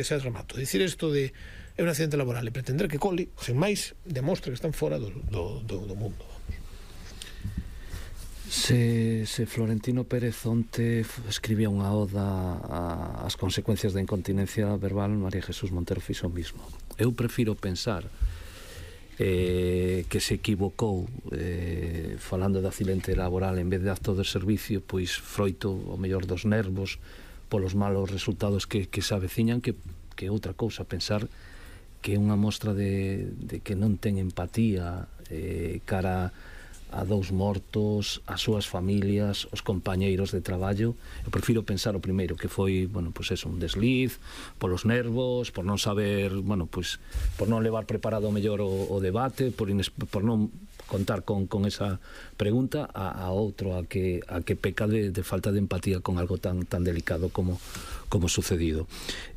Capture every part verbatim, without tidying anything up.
Ese remato. Dicir isto de é un accidente laboral e pretender que cole, sen máis, demostra que están fora do, do, do, do mundo. Se, se Florentino Pérez onte escribía unha oda ás consecuencias da incontinencia verbal, María Jesús Montero fixo o mismo. Eu prefiro pensar eh, que se equivocou eh, falando de accidente laboral en vez de acto de servicio, pois froito o mellor dos nervos polos malos resultados que, que se aveciñan, que, que outra cousa, pensar que é unha mostra de, de que non ten empatía eh, cara a dous mortos, as súas familias, os compañeiros de traballo. Eu prefiro pensar o primeiro, que foi, bueno, pois eso, un desliz, polos nervos, por non saber, bueno, pois, por non levar preparado mellor o, o debate, por, ines, por non contar con, con esa pregunta, a, a outro a que, a que peca de, de falta de empatía con algo tan, tan delicado como, como sucedido.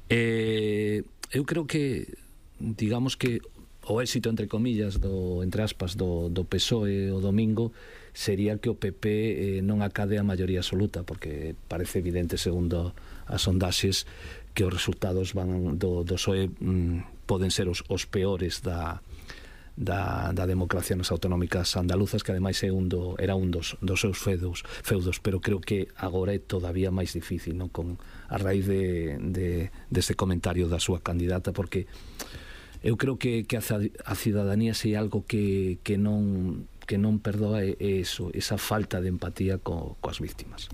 Eh, eu creo que, digamos que o éxito, entre comillas, do, entre aspas, do, do P S O E o domingo sería que o P P eh, non acade a maioría absoluta, porque parece evidente, segundo as sondaxes, que os resultados van do, do P S O E mm, poden ser os, os peores da, da, da democracia nas autonómicas andaluzas, que ademais é un do, era un dos, dos seus feudos, feudos, pero creo que agora é todavía máis difícil, non? Con, a raíz de, de, deste comentario da súa candidata, porque eu creo que, que a, a cidadanía se é algo que, que non que non perdoa é eso, esa falta de empatía co, coas víctimas.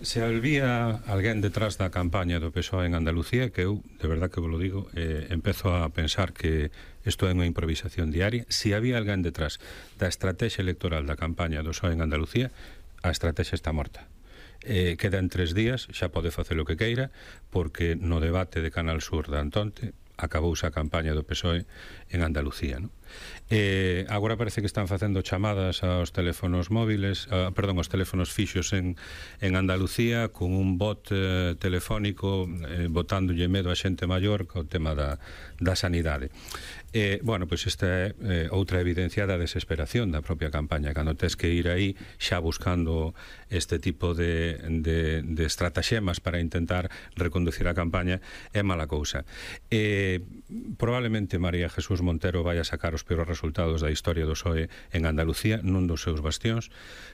Se había alguén detrás da campaña do P S O E en Andalucía, que eu, de verdad que vos lo digo, eh, empezo a pensar que isto é unha improvisación diaria. Se había alguén detrás da estrategia electoral da campaña do P S O E en Andalucía, a estrategia está morta. Eh, quedan tres días, xa pode facer o que queira, porque no debate de Canal Sur de Antonte acabouse a campaña do P S O E en Andalucía, non? Eh, agora parece que están facendo chamadas aos teléfonos móviles, a, perdón, aos teléfonos fixos en, en Andalucía, con un bot eh, telefónico eh, botándolle medo a xente maior co tema da, da sanidade. Eh, bueno, pois esta é eh, outra evidencia da desesperación da propia campaña, cando tes que ir aí xa buscando este tipo de, de, de estrataxemas para intentar reconducir a campaña, é mala cousa. Eh, probablemente María Jesús Montero vai a sacar os peores resultados da historia do P S O E en Andalucía, nun dos seus bastións,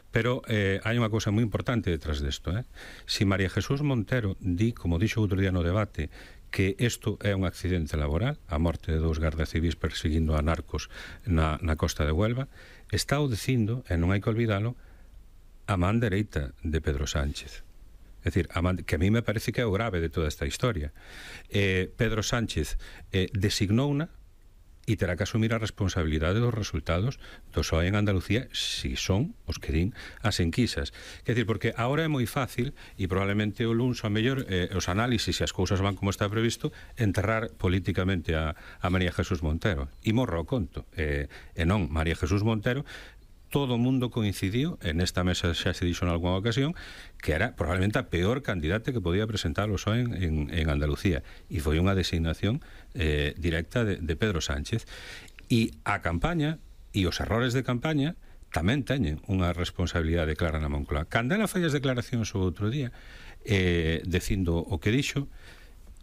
pero eh, hai unha cousa moi importante detrás desto, eh? Si María Jesús Montero di, como dixo outro día no debate, que isto é un accidente laboral, a morte de dous gardas civis perseguindo a narcos na, na costa de Huelva, está o dicindo, e non hai que olvidalo, a man dereita de Pedro Sánchez. É dicir, a man, que a mí me parece que é o grave de toda esta historia. Eh, Pedro Sánchez eh, designouna e terá que asumir a responsabilidade dos resultados do P S O E en Andalucía, si son os que din as enquisas. Quer dizer, porque agora é moi fácil, e probablemente o luns, ao mellor, eh, os análisis, se as cousas van como está previsto, enterrar políticamente a, a María Jesús Montero. E morra o conto. Eh, e non, María Jesús Montero, todo o mundo coincidiu, en esta mesa xa se dixo en algunha ocasión, que era probablemente a peor candidata que podía presentar o P S O E en, en, en Andalucía, e foi unha designación eh, directa de, de Pedro Sánchez. E a campaña e os errores de campaña tamén teñen unha responsabilidade clara na Moncloa. Cando ela fai as declaracións o outro día eh, dicindo o que dixo,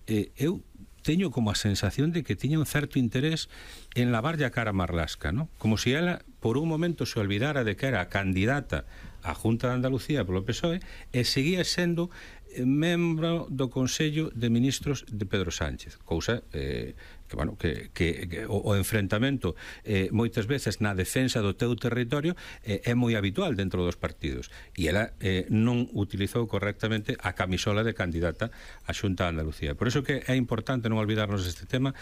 eh, eu teño como a sensación de que tiña un certo interés en lavarlle a cara a Marlaska, ¿no? Como se si ela por un momento se olvidara de que era a candidata á Junta de Andalucía polo P S O E e seguía sendo membro do Consello de Ministros de Pedro Sánchez, cousa eh, que, bueno, que, que, que o, o enfrentamento eh, moitas veces na defensa do teu territorio eh, é moi habitual dentro dos partidos, e ela eh, non utilizou correctamente a camisola de candidata á Xunta de Andalucía. Por iso que é importante non olvidarnos deste tema.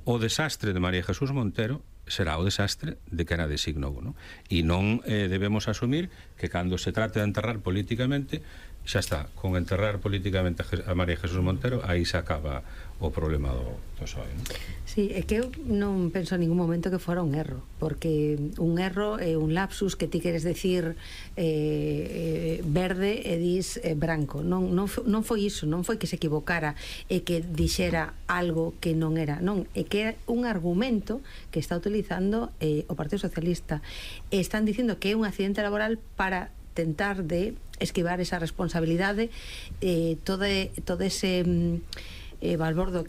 O desastre de María Jesús Montero será o desastre de que era designou, non? E non eh, debemos asumir que cando se trate de enterrar políticamente, xa está, con enterrar políticamente a María Jesús Montero, aí se acaba o problema do, do P S O E, non? Sí, é que eu non penso en ningún momento que fora un erro, porque un erro é un lapsus que ti queres decir eh, verde e dis eh, branco. Non, non, non foi iso, non foi que se equivocara e que dixera algo que non era, non, é que é un argumento que está utilizando eh, o Partido Socialista. E están dicindo que é un accidente laboral para tentar de esquivar esa responsabilidade, eh, todo, todo ese eh, balbordo